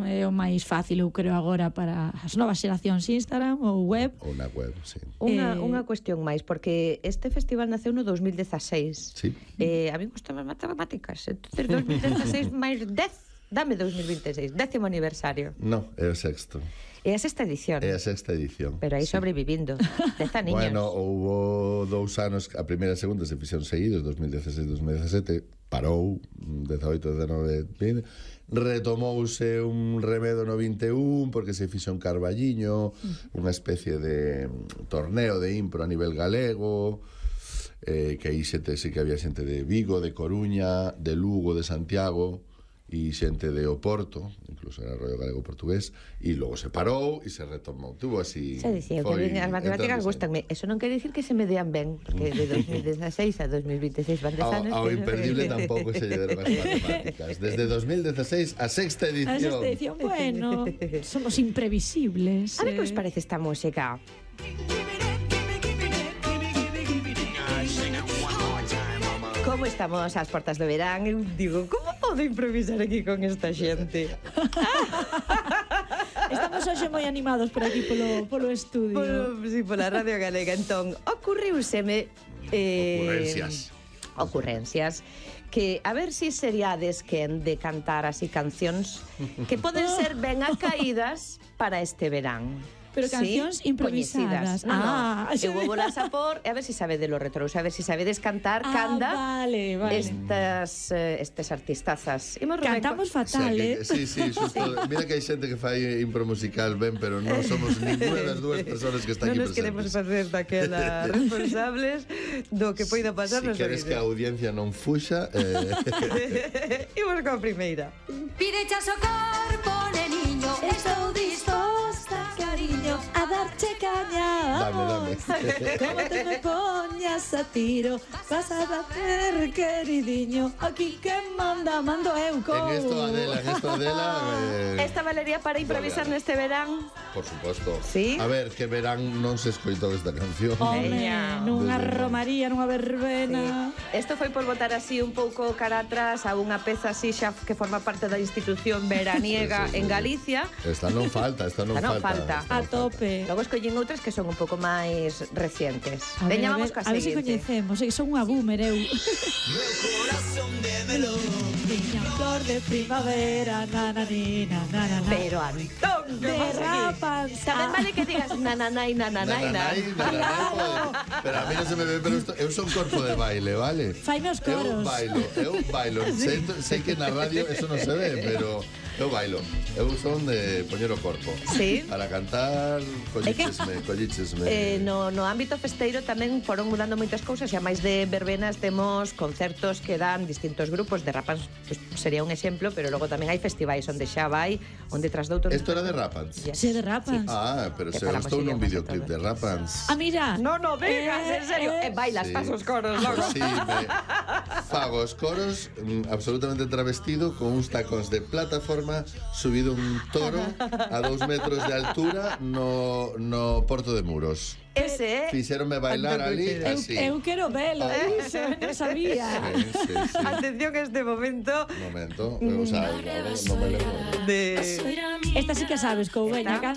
é o máis fácil, eu creo, agora para as novas xeracións, Instagram ou web. Ou na web, sí. Unha cuestión máis, porque este festival naceu no 2016. Sí. A mí gustan as matemáticas. Entonces, 2016 máis 10, dame 2026, 10º aniversario. No, é o sexto. É a sexta edición. É a sexta edición. Pero aí sí. Sobrevivindo. 10 aniños. Bueno, houbo 2 anos, a primeira e a segunda se fixeron seguidos, 2016-2017, parou, 18-19, retomouse un remedo no 21, porque se fixo un Carballiño, unha especie de torneo de impro a nivel galego, que aí xente, sí que había xente de Vigo, de Coruña, de Lugo, de Santiago, e xente de Oporto, incluso era rollo galego-portugués, e logo se parou e se retomou. Tuvo así... Se dicía que as matemáticas gustanme. Eso non quere dicir que se me dean ben, porque de 2016 a 2026 van 10 anos. Ao imperdible tampouco se lle deron as matemáticas. Desde 2016 a sexta edición. A sexta edición, bueno, somos imprevisibles. A ver que os parece esta música. Como estamos ás portas do verán, eu digo, como podo improvisar aquí con esta xente? Estamos hoxe moi animados por aquí polo estudio. Sí, pola Radio Galega. Entón, ocurriuseme ocurrencias que a ver si seriades quen de cantar así cancións que poden ser ben acaídas para este verán. Pero cancións improvisadas. Eu vou volas a por, a ver si sabedes lo retro, a ver si sabedes cantar, canda. Vale. Estes artistazas. Cantamos fatal, Sí, xusto. Mira que hai xente que fai impro musical ben, pero non somos ninguna das dúas persoas que están aquí presentes. Non nos queremos facer daquelas responsables do que poida pasar. Si queres que a audiencia non fuxa, imos coa primeira. Pirecha o corpo, neniño, estou disposta, cariño, a darche caña. Dame. Como te me poñas a tiro, vas a bater, queridiño. Aquí que mando eu. En esto Adela. Esta valería para improvisar neste verán. Por suposto. Sí. A ver, que verán non se escoitou esta canción. Nunha romaría, nunha verbena. Isto foi por botar así un pouco cara atrás a unha peza así xa que forma parte da institución veraniega en Galicia. Esta non falta. A tope. Logo escollín outras que son un pouco máis recientes. Veñamos coa seguinte. A ver se coñecemos, son unha boomer, eu. Meu corazón de melón, niña flor de primavera, nananina, nananai. Pero Antón, derrapan. Tamén vale que digas nananai. Pero a mí non se me ve, pero eu son corpo de baile, vale? Faime os coros. Eu bailo. Sei que na radio eso non se ve, pero eu bailo. Eu son de poñer o corpo. Sí. Para cantar, collichesme. No ámbito festeiro tamén foron mudando moitas cousas, e a máis de verbenas temos concertos que dan distintos grupos. De Rapans pues, sería un exemplo, pero logo tamén hai festivais onde xa vai, onde tras doutros... Isto era de Rapans? Sí, de Rapans. Pero se eu estou nun videoclip de Rapans. Mira. No digas, en serio. Bailas, faz os coros logo. Sí, fago os coros absolutamente travestido, con uns tacóns de plataforma, subido un toro a 2 metros de altura no Porto de Muros. Ese fixéronme bailar ali así. Eu quero velo, iso, non sabía. Sí. Atención a este momento. O sea, non me lembro. Esta sí que sabes, Coubeña.